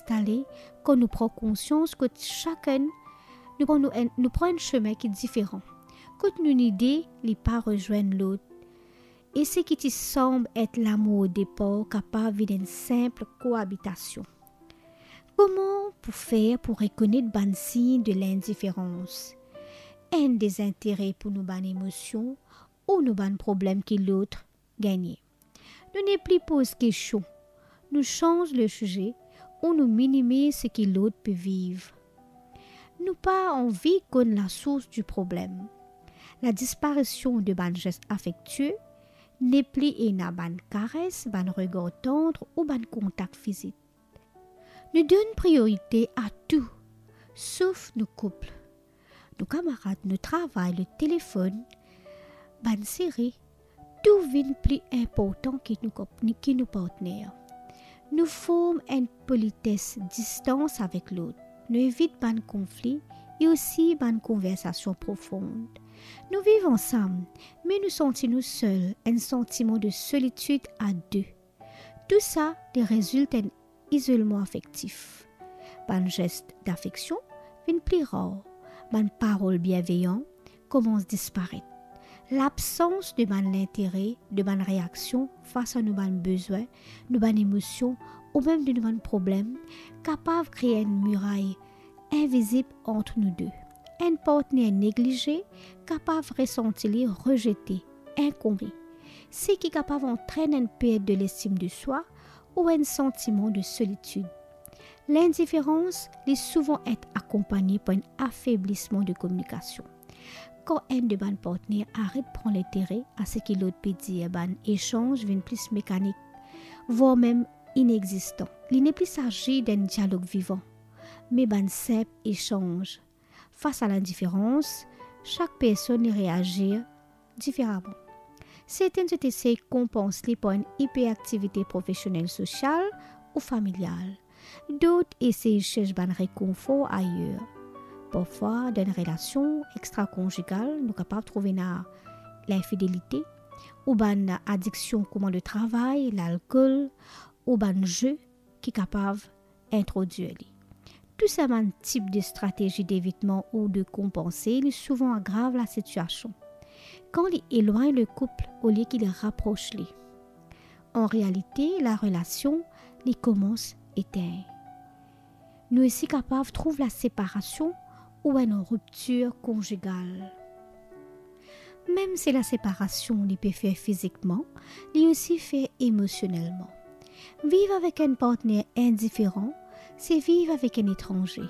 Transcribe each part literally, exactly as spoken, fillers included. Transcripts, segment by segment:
instale kan nou pran konsians kot sakenn nou pran, nou enn, nou pran enn sime ki diferan, kot nou nide li pa rezwenn lot, e seki ti sanble et lamour o depar kapav vinn enn sinp koabitasion. Kouma pou fer pou rekonet bann sign de lindiferans? Enn dezintere pou nou bann emosion ou nou bann problem ki lot gagne. Nou nepli poz kestion, nou sanz lesize ou nou minimiz seki lot pe viv. Nou pa anvi konn lasours di problem. Ladisparision de bann zes afektie, nepli ena bann kares, bann regar tandr ou bann kontak fizik. Nou donn priorite a tou, sof nou koup. Nou kamarad, nou travay, nou telefonn, bann seri, tou vinn pli inportan ki nou kop-, ki nou partner. Nou form enn polites distans avek lot. Nou evit bann konfli e osi bann konversasion profond. Nou viv ansam, me nou santi nou sel, enn santiman de solitid a de. Tou sa, li rezilt enn izolman afektif. Bann zes dafeksion vinn pli rar. Bann parol bienveyan koumans disparet. Labsans de bann lintere, de bann reaksion fas a nou bann bezwin, nou bann emosion, ou mem de nou bann problem, kapav kree enn miray invizib ant nou de. Enn partner neglize kapav resanti li rezete, inkoni, seki kapav antrenn enn pert de lestim de swa ou enn santiman de solitid. Lindiferans, li souvan et akonpagne par enn afeblisman de kominikasion. Kan enn de bann partner aret pran lintere a seki lot pe dir, bann esanz vinn plis mekanik, vwar mem inexistan. Li nepli sazi d'enn dialog vivan, me bann sinp esanz. Fas a lindiferans, sak personn li reazir diferaman. Sertenn zot esey konpans li par enn iperaktivite profesionel, sosial ou familial. Dot esey sers bann rekonfor ayer. Parfwa, dan enn relasion extrakonzigal, nou kapav trouv ena linfidelite, ou bann adiksion kouma letravay, lalkol, ou bann ze ki kapav introdwir li. Tou sa bann tip de stratezi devitman ou de konpanse, li souvan agrav lasitiasion. Kan li elwagn lekoup olie ki li rapros li, an realite, larelasion, li koumans etenn. Nou osi kapav trouv laseparasion ou enn riptir konzigal. Mem si laseparasion li pe fer fizikman, li osi fer emosionelman. Viv avek enn partner indiferan, se viv avek enn etranze.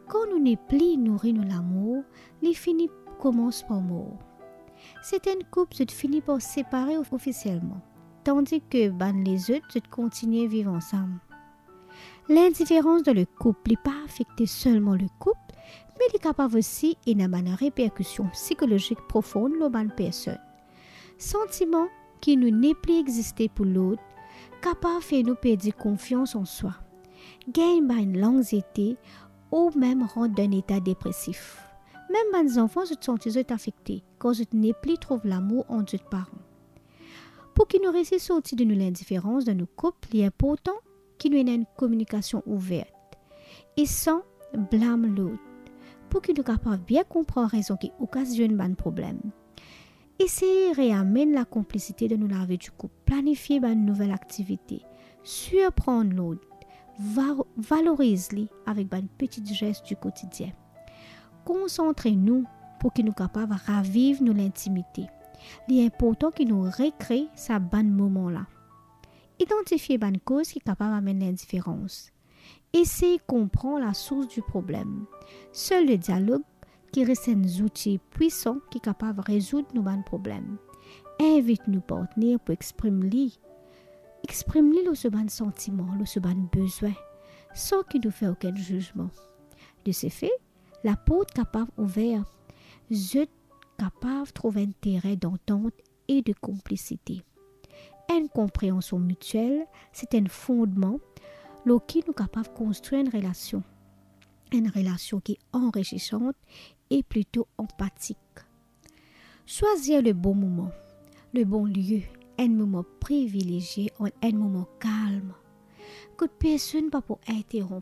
Kan nou nepli nouri nou lamour, li fini koumans par mor. Sertenn koup, zot fini par separe ofisielman, tandis ki bann lezot, zot kontigne viv ansam. Lindiferans dan lekoup, li pa afekte selman lekoup, me li kapav osi ena bann reperkision psikolozik profon lor bann personn. Santiman ki nou nepli existe pou lot kapav fer nou perdi konfians an swa, gagn bann lanxiete ou mem rant dan enn eta depresif. Mem bann zanfan, zot santi zot afekte kan zot nepli trouv lamour ant zot paran. Pou ki nou resi sorti de nou lindiferans dan nou koup, li inportan ki nou ena enn kominikasion ouver e san blam lot, pou ki nou kapav bien konpran rezon ki okazionn bann problem. Esey reamenn lakonplisite dan nou lavi di koup, planifie bann nouvel aktivite, sirprann lot, va-, valoriz li avek bann peti zes di kotidien. Konsantre nou pou ki nou kapav raviv nou lintimite. Li inportan ki nou rekre sa bann moman la. Idantifie bann koz ki kapav amenn lindiferans. Esey konpran lasours di problem. Sel le dialog ki res enn zouti pwisan ki kapav rezoud nou bann problem. Invit nou partner pou exprim li. Exprim li lor so bann santiman, lor so bann bezwin, san ki nou fer okenn zizman. De se fe, laport kapav ouver. Zot kapav trouv enn terin dantant e de konplisite. Enn konpreansion mitiel, se enn fondman lor ki nou kapav konstrir enn relasion. Enn relasion ki anrisisan e plito anpatik. Swazir le bon moman, le bon lie, enn moman privilezie, enn moman kalm, kot personn pa pou interronp